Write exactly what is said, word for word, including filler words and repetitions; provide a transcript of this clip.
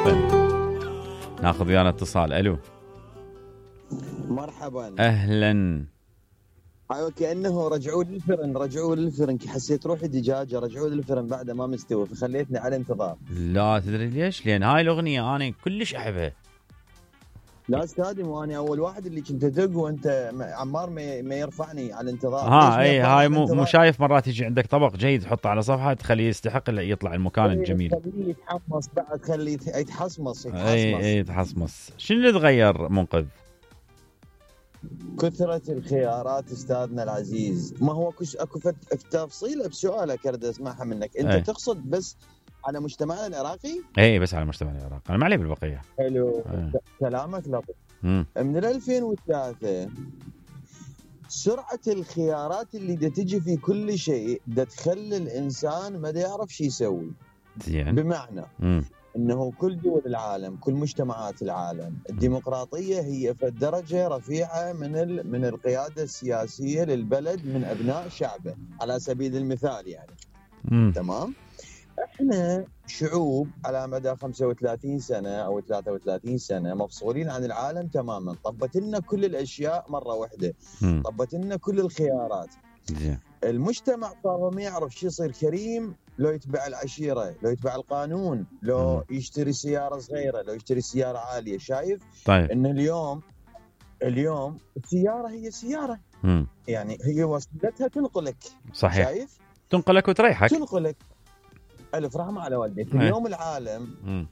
عفوا. ناخذ ويانا اتصال. الو مرحبا. اهلا. ايوه كانه رجعوا للفرن رجعوا للفرن حسيت روحي دجاجه رجعوا للفرن بعد ما مستوي فخليتني على انتظار. لا تدري ليش؟ لان هاي الاغنيه انا كلش احبها. لا استاذي مو انا اول واحد اللي كنت ادق وانت عمار ما يرفعني على الانتظار. ها اي هاي مو مو شايف مرات يجي عندك طبق جيد تحطه على صفحه تخليه يستحق يطلع المكان ايه الجميل. خليه يتحمص بعد خليه يتحصمص يتحصمص. اي اي يتحصمص. شنو اللي تغير منقذ؟ كثرة الخيارات استاذنا العزيز. ما هو كش اكو تفصيله بسؤالك اريد اسمعها منك. انت أي. تقصد بس على مجتمعنا العراقي؟ اي بس على مجتمع العراق انا ما علي بالبقيه. حلو. كلامك لطيف. من ألفين وثلاثة سرعة الخيارات اللي دا تجي في كل شيء دا تخلي الإنسان ما دا يعرف شي يسوي. زين. بمعنى مم. أنه كل دول العالم كل مجتمعات العالم الديمقراطية هي في درجة رفيعة من ال... من القيادة السياسية للبلد من أبناء شعبه على سبيل المثال يعني. مم. تمام. احنا شعوب على مدى خمسة وثلاثين سنة او ثلاثة وثلاثين سنة مفصولين عن العالم تماما. طبت لنا كل الاشياء مرة واحدة. مم. طبت لنا كل الخيارات. زين. المجتمع صار ما يعرف شو يصير كريم لو يتبع العشيرة لو يتبع القانون لو مم. يشتري سيارة صغيرة لو يشتري سيارة عالية. شايف طيب. ان اليوم اليوم السيارة هي سيارة. مم. يعني هي وسيلتها تنقلك. صحيح. شايف تنقلك وتريحك. تنقلك. ألف رحمة على والديك. اليوم العالم